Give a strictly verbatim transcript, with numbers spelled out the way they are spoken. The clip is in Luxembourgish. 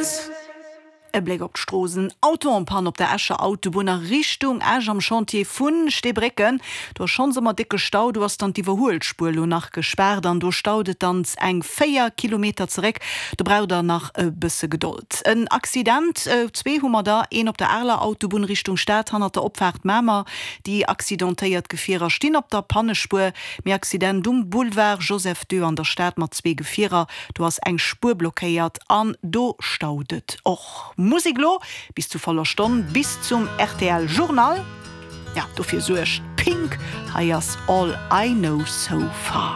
dance. E Bléck op d'Stroossen, Auto en panne op der Escher Autobunn a Richtung Esch am Chantier vun Steebrécken. Do ass schonns ëmmer décke Stau, do ass dann d'Iwwerhuelspuer lo nach gespaart an do staut et dann eng véier Kilometer zeréck. Do braucht der nach e bësse Gedold. En Accident, zwee hu mer der, een op der Areler Autobunn Richtung Stad hannert der Opfaart Mamer. Déi accidentéiert Gefierer stinn op der Pannespuer. Mee Accident um Boulevard Joseph II an der Stad mat zwee Gefierer, do ass eng Spuer blockéiert an do staut et och. Musek lo bis zu voller Stonn, bis zum R T L Journal. Ja, dofir suergt Pink, hei ass All I Know So Far.